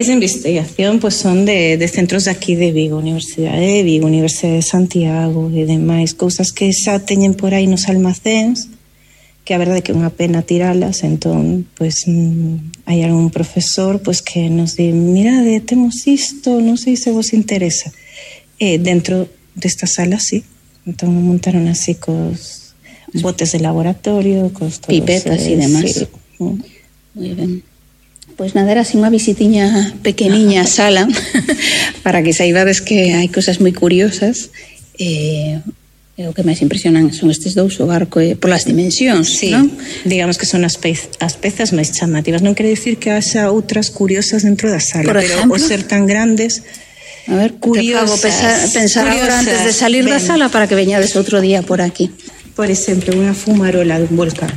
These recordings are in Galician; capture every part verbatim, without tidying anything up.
Esa investigación pues son de, de centros de aquí de Vigo, Universidade de Vigo, Universidade de Santiago e demais, cousas que xa teñen por aí nos almacéns, que a verdade é que é unha pena tiralas. Entón, pues mm, hai algún profesor pues que nos di, mirade, temos isto, non sei se vos interesa. E dentro desta sala, sí. Entón montaron así cos botes de laboratorio, cos todos, pipetas e eh, demás. Sí. Moi ben. Pois nada, era así unha visitiña pequeniña a sala para que saibades que hai cosas moi curiosas. E, e o que máis impresionan son estes dous, o barco e polas dimensións, sí, non? Digamos que son as, pez, as pezas máis chamativas. Non quere dicir que haxa outras curiosas dentro da sala, por pero ejemplo, o ser tan grandes, a ver, curiosas, pensar, pensar curiosas, agora antes de salir ben. da sala para que veñades outro día por aquí. Por exemplo, unha fumarola dun volcán.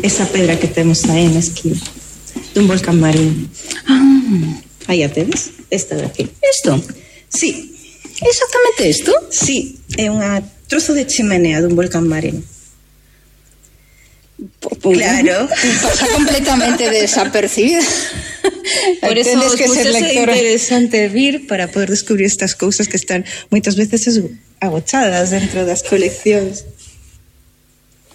Esa pedra que temos aí na esquina, dun volcán marino. Ah. Aí a tedes, esta de aquí. Isto? Sí. Exactamente isto? Sí, é unha trozo de chimenea dun volcán marino. Claro. Pasa completamente desapercibida. Por eso os que ser lectora. É interesante vir para poder descubrir estas cousas que están moitas veces agochadas dentro das coleccións.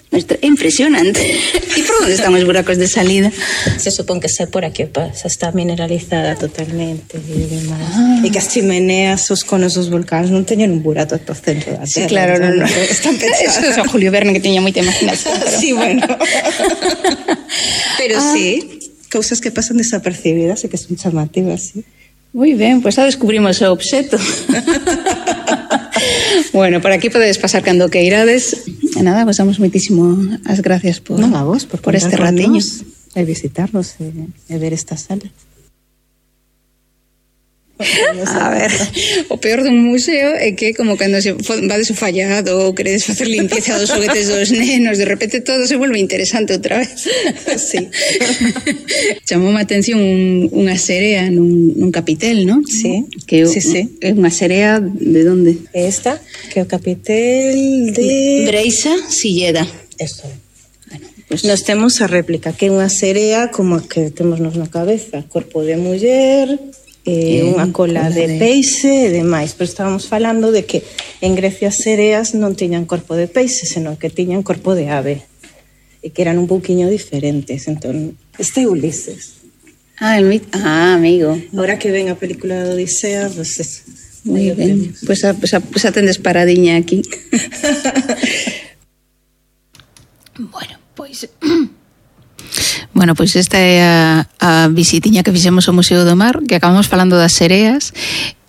É impresionante. E por onde están os buracos de salida? Se supón que xa por aquí pasa, está mineralizada totalmente e demais. Ah. E que as chimeneas, os conos dos volcáns non teñen un burato ata o centro da terra. Sí, claro, non, non. Están pensados. Eso é Julio Verne, que teña moita imaginación. Pero... Sí, bueno. Pero ah. sí, cousas que pasan desapercibidas e que son chamativas, sí. Moi ben, pois pues xa descubrimos o obxeto. Bueno, por aquí podedes pasar cando que irades. E nada, vos damos moitísimo as gracias por, no, a vos, por, por este ratiño. E visitarnos e, e ver esta sala. A ver, o peor dun museo é que como cando se vades o fallado ou queredes facer limpieza dos xoguetes dos nenos, de repente todo se volve interesante outra vez. Sí. Chamou a atención un, unha serea nun, nun capitel, non? Sí, que sí, sí. É unha serea de onde? Esta, que é o capitel de... Breixa Silleda. Eso é. Bueno, pues nos temos a réplica, que é unha serea como a que temos nos na cabeza, corpo de muller... Eh, unha cola, cola de, de peixe e demais, pero estábamos falando de que en Grecia as sereas non tiñan corpo de peixe, senón que tiñan corpo de ave e que eran un pouquiño diferentes. Entón, este é Ulises. Ah, el mit... ah, amigo. Ahora que ven a película de Odisea, pues es... Moi ben, pois pues, pues, pues, atendes paradiña aquí. Bueno, pois... Bueno, pois esta é a, a visitiña que fixemos ao Museo do Mar, que acabamos falando das sereas.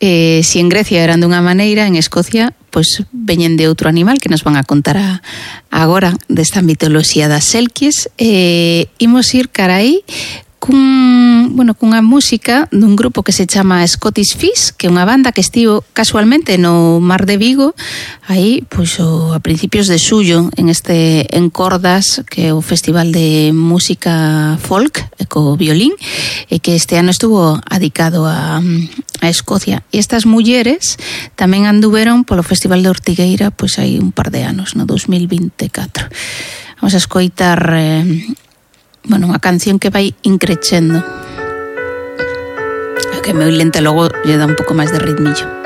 Eh, si en Grecia eran dunha maneira, en Escocia pois veñen de outro animal que nos van a contar a, agora desta mitoloxía das selkies. Eh, imos ir cara aí cun, bueno, cunha música dun grupo que se chama Scottish Fish, que é unha banda que estivo casualmente no Mar de Vigo aí, pois, o, a principios de xullo en este Encordas, que é o festival de música folk co violín, e que este ano estuvo adicado a, a Escocia. E estas mulleres tamén anduveron polo Festival de Ortigueira pois hai un par de anos, no dos mil vinte e catro. Vamos a escoitar eh, bueno, unha canción que vai increchendo, que é moi lenta, logo lle dá un pouco máis de ritmillo.